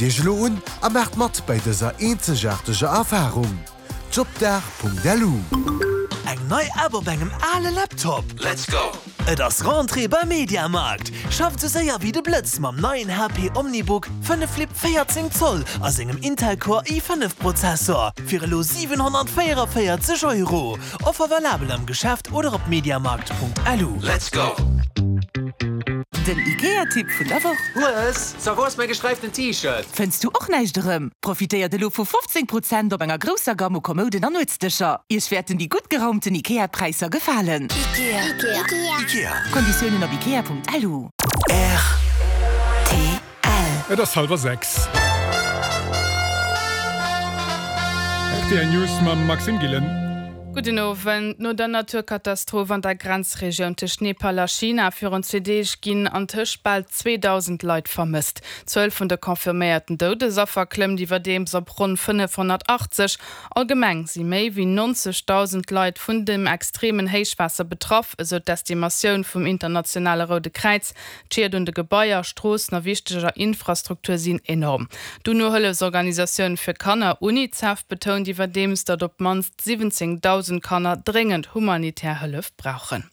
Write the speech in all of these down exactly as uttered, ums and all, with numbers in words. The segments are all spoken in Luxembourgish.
Iech elo un a maacht mat bei dëser eenzegaarteger Erfarung. Jobdag.lu. Eng nei App op engem ale Laptop? Let's go! Et ass Rentrée beim Mediamarkt! Schafft sou séier wéi de Blëtz mam neien H P OmniBook fënnef Flip véierzéng Zoll a sengem Intel Core i fënnef Prozessor fir elo siwenhonnertvéierenvéierzeg Euro. Offer valabel am Geschäft oder op mediamarkt Punkt L U. Let's go! Den IKEA-Tipp vun der Woch. Hues, so wou ass mäi gesträiften T-Shirt? Fënns du och näischt erëm? Profitéiert elo vu fofzéng Prozent op enger grousser Gamme u Kommoden an Nuetsdëscher. Iech wäerten déi gutt geraumten IKEA-Präisser gefalen. Ikea. Ikea. Ikea. Konditiounen op ikea Punkt L U. R T L. Et ass hallwer sechs. R T L News mam Maxime Gillen. Gudden Owend. No der Naturkatastroph an der Grenzregioun tëscht Nepal a China virun zwee Deeg ginn antëscht bal zweedausend Leit vermësst. D'Zuel vun de confirméierten Doudesaffer klëmmt iwwerdeems op ronn fënnefhonnertachtzeg. Allgemeng si méi wéi nonzegdausend Leit vun dem extremen Héichwaasser betraff, esou d'Estimatioun vum internationale Roude Kräiz. D'Schied un de Gebaier, Stroossen a wichteger Infrastruktur sinn enorm. D'UNO-Hëllefsorganisatioun fir Kanner UNICEF betount iwwerdeems, datt op d'mannst siwwenzéngdausend Kanner dréngend humanitär Hëllef brauchen.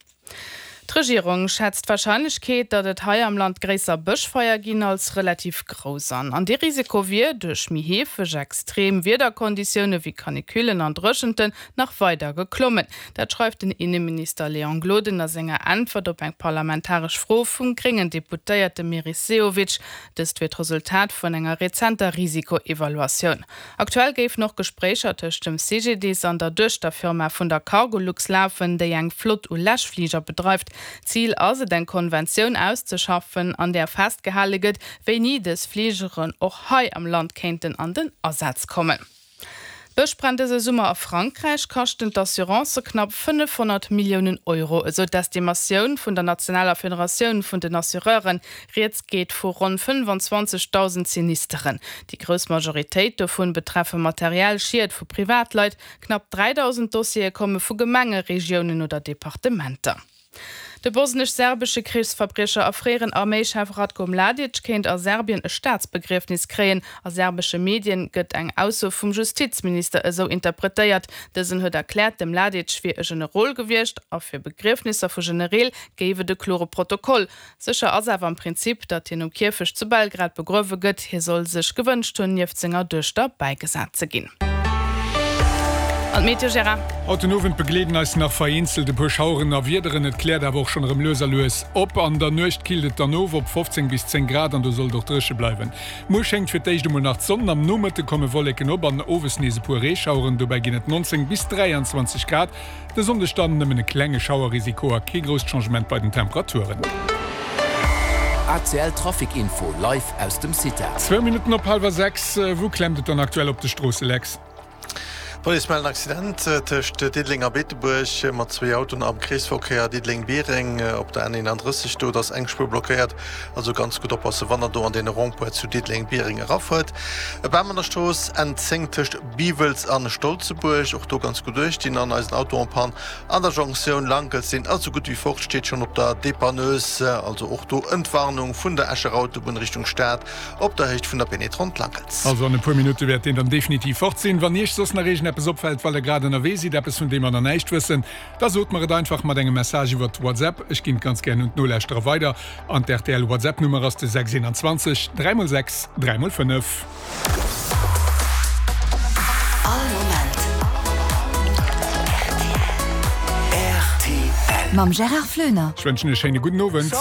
D'Regierung schätzt d'Warscheinlechkeet, datt et hei am Land gréisser Bëschfeier ginn, als relativ grouss an. An dee Risiko wier duerch méi heefeg extrem Wiederkonditioune wéi Canicullen an Dréchenten nach weider geklommen. Dat schreift den Inneminister Léon Gloden a senger Äntwert op eng parlamentaresch Fro vum gréngen Deputéierte Meris Sehovic. Dëst wier d'Resultat vun enger rezenter Risikoevaluatioun. Aktuell géifen och Gespréicher tëscht dem C G D I S an der Duechterfirma vun der Cargolux lafen, déi eng Flott u Läschfliger bedreift. Zil ass et, eng Konventioun auszeschaffen, an där festgehale gëtt, wéini dës Fligeren och hei am Land kéinten an den Asaz kommen. D'Bëschbränn dëse Summer a Frankräich kaschten d'Assurancë knapp fënnefhonnert Milliounen Euro, esou d'Estimatioun vun der nationaler Federatioun vun den Assureuren. Rieds geet vu ronn fënnefanzwanzegdausend Sinisteren. Déi grouss Majoritéit dovun betreffe materiell Schied vu Privatleit. Knapp dräidausend Dossiere komme vu Gemenge, Regiounen oder Departementer. De bosnesch-serbesche Krichsverbriecher a fréieren Arméischef Ratko Mladic kéint a Serbien e Staatsbegriefnis kréien. A serbesche Medien gëtt eng Ausso vum Justizminister esou interpretéiert. Dësen huet erkläert, de Mladic wier e Generol gewiescht a fir Begriefnisser vu Genereel géif et e klore Protokoll. Sécher ass awer am Prinzip, datt hien um Kierfecht zu Belgrad begruewe gëtt. Hie soll sech gewënscht hunn, nieft senger Duechter bäigesat ze ginn. An d'Meteo, Gérard? Haut den Owend begleeden eis nach vereenzelt e puer Schaueren a Wiederen. Et kläert awer och schonn erëm lues a lues op. An der Nuecht killt et dann of op fofzéng bis zéng Grad an do soll et och dréche bleiwen. Muer schéngt fir d'éischt emol nach d'Sonn, am Nomëtte komme Wolleken op an owes nees e puer Reeschaueren. Dobäi ginn et nonzéng bis dräianzwanzeg Grad. De Sonndeg dann nëmmen e klenge Schauerrisiko a kee grousst Changement bei den Temperaturen. A C L Trafic Info live aus dem CITA. Zwou Minutten op hallwer sechs. Wou klemmt et dann aktuell op de Stroosse, Lex? D'Police mellt en Accident tëscht Diddeleng a Beetebuerg mat zwee Autoen am Kreesverkéier Diddeleng-Biereng op der N eenandrësseg. Do ass eng Spuer blockéiert, also ganz gutt oppassen, wann der do an dee Rond-point zu Diddeleng-Biereng erafuert. E Bam an der Strooss N zéng tëscht Biwels a Stolzebuerg, och do ganz gutt uecht ginn. An eisen Auto en panne an der Jonktioun Lankels, deen ass esou gutt wéi fort, steet schonn op der Dépanneuse. Also och do Entwarnung vun der Escher Autobunn Richtung Stad op der Héicht vun der Pénétrante Lankels. Also an e puer Minutte wäert deen dann definitiv fort sinn. Wann Iech soss nach iergendeppes opfält, well der grad ënnerwee sidd, eppes vun deem mer nach näischt wëssen, da sot mer et einfach mat engem Message iwwer WhatsApp. Ech ginn et ganz gären un d'Nolauschterer weider. An d'R T L WhatsApp Nummer ass de sechs eenanzwanzeg dräi mol sechs dräi mol fënnef. All Moment R T L. Mam Gérard Flöner. Ech wënschen e schéine gudden Owend.